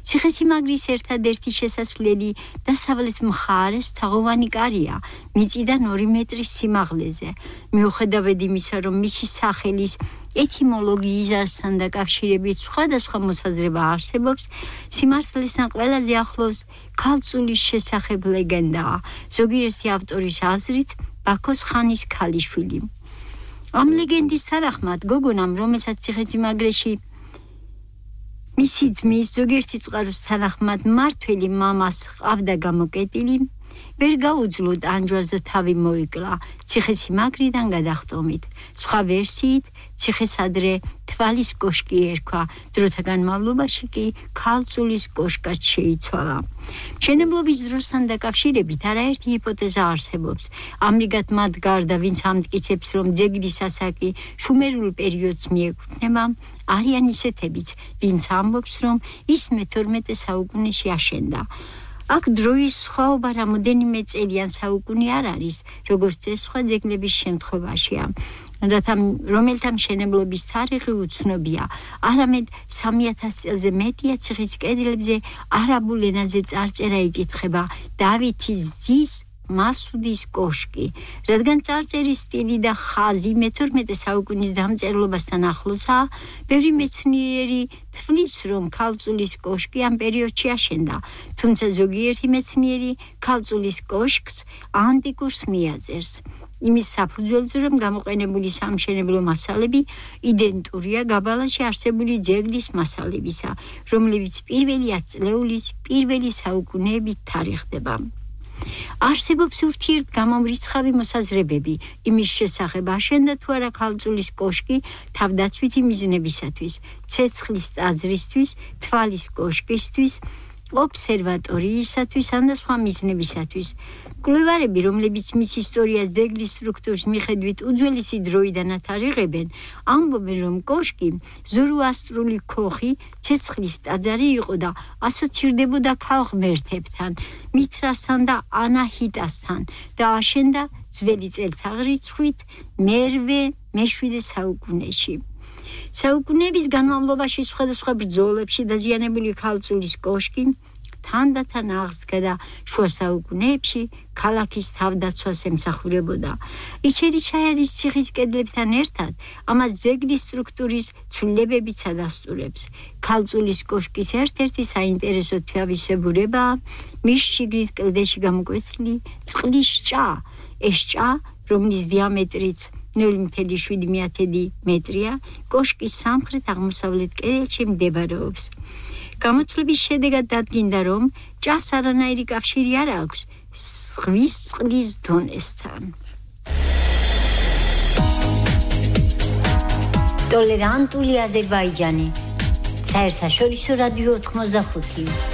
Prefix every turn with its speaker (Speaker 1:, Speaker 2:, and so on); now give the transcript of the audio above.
Speaker 1: ციხესიმაგრის ერთადერთი შესასვლელი დასავლეთ მხარეს თაღოვანი კარია, მიწიდან 2 მეტრის სიმაღლეზე. მიუხედავად იმისა, რომ მისი სახელის ეთიმოლოგიისთან დაკავშირებით სხვადასხვა მოსაზრება არსებობს, სიმართლესთან ყველაზე ახლოს ქალწულის შესახებ ლეგენდაა, ზოგიერთი ავტორის აზრით ბაქოს ხანის ქალიშვილი. ამ ლეგენდის თანახმად გოგონამ, რომელსაც ციხესიმაგრეში მისი ძმის ზოგიერთი წყაროს თანახმად მმართველი მამას ჰყავდა გამოკეტილი, ვერ გაუძლო ტანჯვას და თავი მოიკლა ციხესიმაგრიდან გადახტომით. სხვა ვერსიით ციხეს ადრე თვალის კოშკი ერქვა, დროთა განმავლობაში კი ქალწულის კოშკად შეიცვალა. მშენებლობის დროსთან დაკავშირებით არაერთი ჰიპოთეზა არსებობს. ამრიგად მათ გარდა, ვინც ამტკიცებს, რომ ძეგლის ასაკი შუმერულ პერიოდს მიეკუთვნება, არიან ისეთებიც, ვინც ამბობს, რომ ის მე-12 საუკუნეში აშენდა. აქ დროის სხვაობა რამოდენიმე წელიან საუკუნე არ არის, როგორც ეს სხვა ძეგლების შემთხვევაშია, რომელთა მშენებლობის თარიღი უცნობია, არამედ 3000 წელზე მეტია ციხის კედლებზე არაბულ ენაზე წარწერა იკითხება დავითის ძის მასუდის კოშკი, რადგან წარწერის სტილი და ხაზი მე-12 საუკუნის დამწერლობასთან ახლოსაა, ბევრი მეცნიერი თვლის, რომ ქალწულის კოშკი ამ პერიოდში აშენდა, თუმცა ზოგიერთი მეცნიერი ქალწულის კოშკს ანტიკურს მიაწერს. იმის საფუძველზე, რომ გამოყენებული სამშენებლო მასალები იდენტურია გაბალაში არსებული ძეგლის მასალებისა, რომლებიც პირველი 100 წლეულის პირველი საუკუნეებით თარიღდება. არსებობს ურთიერთგამომრიცხავი მოსაზრებები იმის შესახებ, აშენდა თუ არა ქალწულის კოშკი თავდაცვითი მიზნებისათვის, ცეცხლის ტაძრისთვის, თვალის კოშკისთვის, ობსერვატორიისათვის ან და სხვა მიზნებისათვის. მკვლევარები, რომლებიც მის ისტორიას ძეგლის სტრუქტურის მიხედვით უძველესი დროიდან ათარიღებენ, ამბობენ, რომ კოშკი ზოროასტრული ქოხი, ცეცხლის ტაძარი იყო და ასოცირდებოდა ქალღმერთებთან, მითრასთან და ანაჰიტასთან და აშენდა ძველი წელთაღრიცხვით მე-7 საუკუნეში. საუკუნეების განმავლობაში სხვადასხვა ბრძოლებში დაზიანებული ქალწულის კოშკი თანდათან აღსდგა და შუა საუკუნეებში ქალაქის თავდაცვას ემსახურებოდა. იჩერიშაიარის ციხის კედლებთან ერთად ამას ძეგლის სტრუქტურის ცვლილებებიც ადასტურებს. ქალწულის კოშკის ერთ-ერთი საინტერესო თვისებურებაა მის შიგნით კლდეში გამოკვეთილი წყლის ჭა. ეს ჭა, რომლის დიამეტრიც 0.7 მეტრია, კოშკის სამხრეთ-აღმოსავლეთ კედელში მდებარეობს. გამოთვლების შედეგად დადგინდა, რომ ჭას არანაირი კავშირი არ აქვს ზღვის წყლის დონესთან. ტოლერანტული აზერბაიჯანი. საერთაშორისო რადიო 85.